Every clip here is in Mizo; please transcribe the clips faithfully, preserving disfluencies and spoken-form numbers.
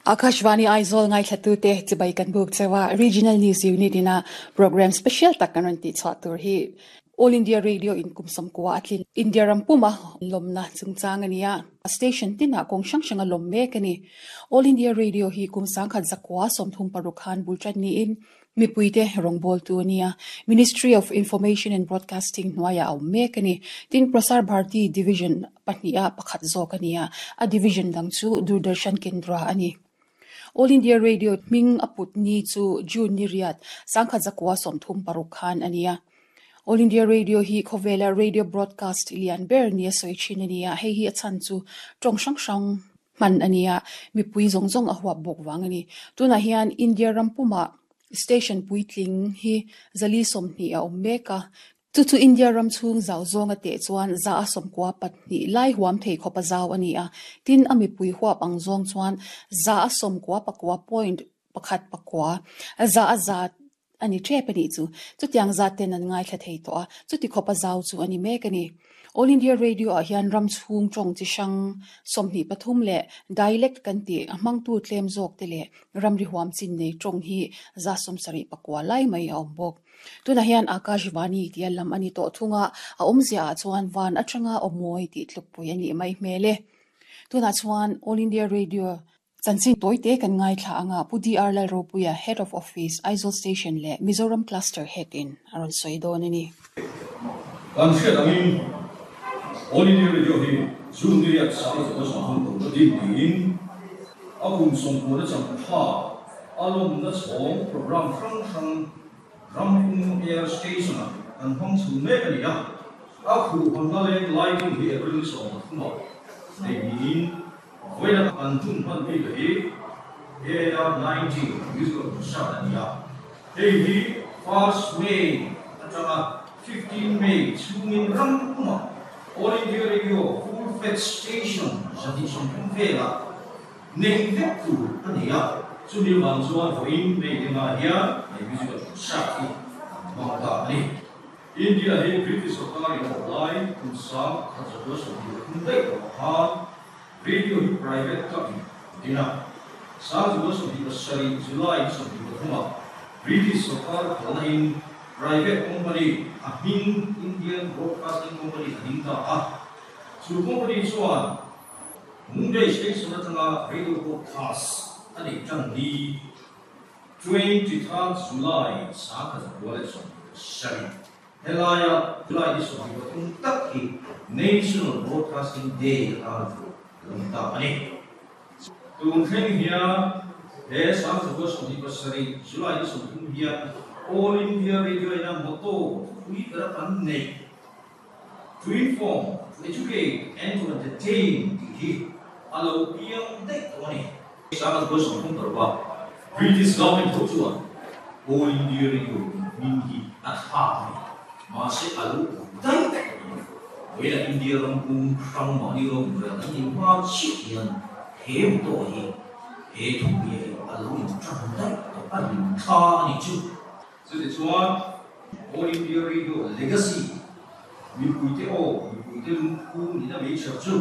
Akashvani Aizawl ngaithla te chibai kan buk chewa Regional News Unit ina program special tak kan ran ti chwa tur hi All India Radio in kumsam kwa atlin India rampuma lomna chungchang ania station tina kong sang sanga lom mek ani All India Radio hi kumsang khat zakwa somthum parukhan bulchan ni in mipuite rongbol tu ania Ministry of Information and Broadcasting hnuaia au mek ani tin Prasar Bharati Division pahnia pakhat zawk ania a division dang chu Doordarshan Kendra ani All India Radio hming aput ni chu June ni riat sangkhat zakwa somthum paruk khan ania All India Radio hi khawvela radio broadcast lian ber nia soi thin ania hei hi a chan chu tawng hrang hrang hman ania mipui zawng zawng a huap bawk wang ani tunah hian India rampuma station puitling hi zali sawmhnih a awm mek a chu chu India ram chhung zau zawnga teh chuan za a sawmkua pahnih lai huam thei khawp a zau ani a tin a mipui huap ang zawng chuan za a sawmkua pakua point pakhat pakua za a za ani tep ani chu chutiang za ten an ngaithla thei tawh a chuti khawp a zau chu ani mek ani All India Radio ah hian ram chhung tawng chi hrang sawmhnih pathum leh dialect kan tih a hmangtu tlem zawk te leh ramri huam chin nei tawng hi za sawmsarih pakua lai mai a awm bawk tunah hian Akashvani tia lam ani tawh thunga a awmzia ah chuan van atanga awmawi tih tlukpui ani mai hmel e tunah chuan All India Radio chanchin tawite kan ngaithla anga Pu D R Lalropuia Head of Office Aizawl Station leh Mizoram Cluster Head in a rawn sawi dawn ani. Kan hriat angin All India Radio hi June ni riat sang zakua sawmthum paruk a din niin a kum sawmkua na chang tha a lawmna chhawng program hrang hrang rampum air station ah kan hmang chhun mek ani a a khuh hawnna leng lighting hi April ni sawm pathum ah nei niin vawiin kan hun hman bik hi A I R ninety musical concert ani a hei hi first May atanga fifteen May chhungin rampuma All India Radio full-fledged station zahnih sawmthum vela nei vek tur ani a chumi wang chuan vawiin May lenga hian hei musical concert hi kan hmang ta ani India hi British sarkar in awp lai kum sang khat zakua sawmhnih pathum daih tawh khan radio hi private club in dina sang zakua sawmhnih pasarih July ni sawmhnih pathum ah British sarkar phalna in private company a hming Indian Broadcasting Company a ding ta a chu company chuan Mumbai station atanga radio broadcast ani tan ni twenty third July sang khat zakua leh sawmhnih pasarih helaya July ni sawmhnih pathum tak hi National Broadcasting Day atan thu lawm ta ani tun thleng hian he sang zakua sawmhnih pasarih July ni sawmthum hian All India Radio ina motto thupui bera kan nei to inform, to educate and to entertain tih hi a lo piang daih tawh ani sang zakua sawmthum paruk a British government tho chuan All India Radio hming hi a tha ani mahse a lo daih tawh ani vawiin India rampum hrang mahni rawng rel an nih hma chiah hian he motto hi he thupui hi a lo in tan daih tawh a rin tha ani chu chuti chuan All India Radio legacy mipuite aw mipuite lungphu nina mei chher chu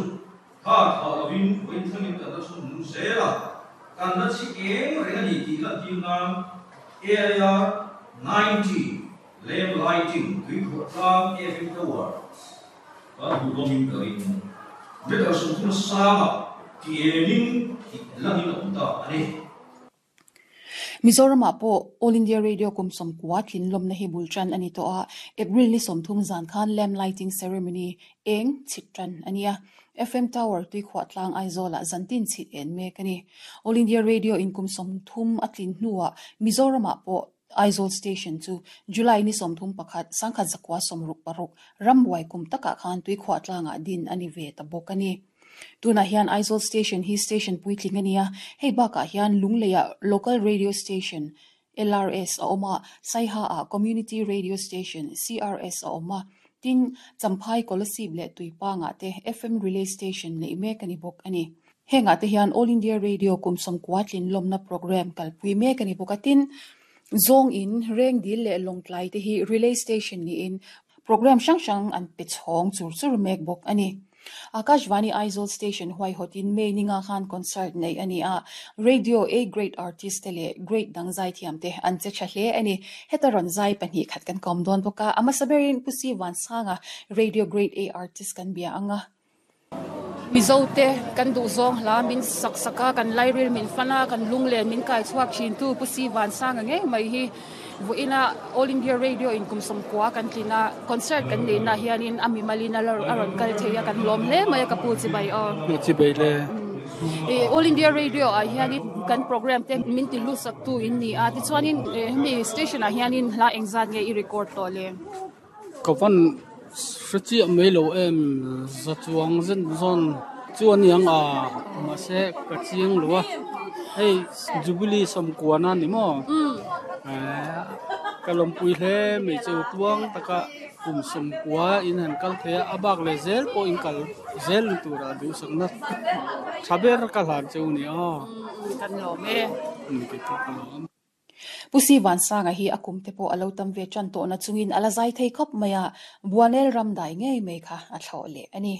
kha tha lovin vawiin thlengin kan la chhun nung zel a kan la chi eng reng ani tih lan tir nan A I R ninety lamp lighting tuikhuah tlang F M tower kan hmu hlawmin ka ring meter sawmthum sanga ti enin tih langin a awm ta ani. Mizoram ah pawh All India Radio kum sawmkua tlin lawmna hi bultan ani tawh a April ni sawmthum zan khan lamp lighting ceremony eng chhit tan ania F M Tower tuikhuah tlang Aizawl ah zantin chhit en mek ani All India Radio in kum sawmthum a tlin hnuah Mizoram ah pawh Aizawl station chu July ni sawmthum pakhat sangkhat zakua sawmruk paruk rambuai kum takah khan tuikhuah tlangah din ani ve ta bawk ani tunah hian Aizawl station hi station puitling ania hei bakah hian Lungleia local radio station L R S a awm a Saiha ah community radio station C R S a awm a tin Champhai Kolasib leh Tuipangah te F M relay station nei mek ani bawk ani hengah te hian All India Radio kum sawmkua tlin lawmna program kalpui mek ani bawk a tin zawng in Rengdil leh Lawngtlai te hi relay station niin program hrang hrang an pe chhawng chur chur mek bawk ani. Akashvani Aizawl Station huai hotin May ninga khan concert nei ani a Radio A Grade Artist te leh Grade dang zai thiam te an che tha hle ani heta rawn zai pahnih khat kan kawm dawn bawk a a hmasa berin Pu Si Vansanga Radio Grade A Artist kan bia anga Mizo te kan duh zawng hla min sak sak a kan lairil min fan a kan lunglen min kai chhuak thin tu Pu Si Vansanga ngei mai hi vawiina All India Radio in kum sawmkua kan tlin a concert kan neih na hianin a mimalin a rawn kal thei a kan lawm hle mai a ka pu chibai aw chibai le All India Radio ah hianin kan program te min ti lut sak tu in ni a tichuanin hemi station ah hianin hla engzat nge i record tawh le ka van hre chiah mai lo em za chuang zen zawn chu aniang a mahse ka chiang lo a hei Jubilee sawmkuana ni maw ka lawmpui hle mai chu tuang taka kum sawmkua in han kal thei a a bak leh zel pawh in kal zel ni tura duhsakna tha ber ka hlan cheu ni aw kan lawm e Pu Si Vansanga hi a kum te pawh a lo tam ve tan tawh na chungin a la zai thei khawp mai a Buanel ram dai ngei mai kha a thlawh leh ani.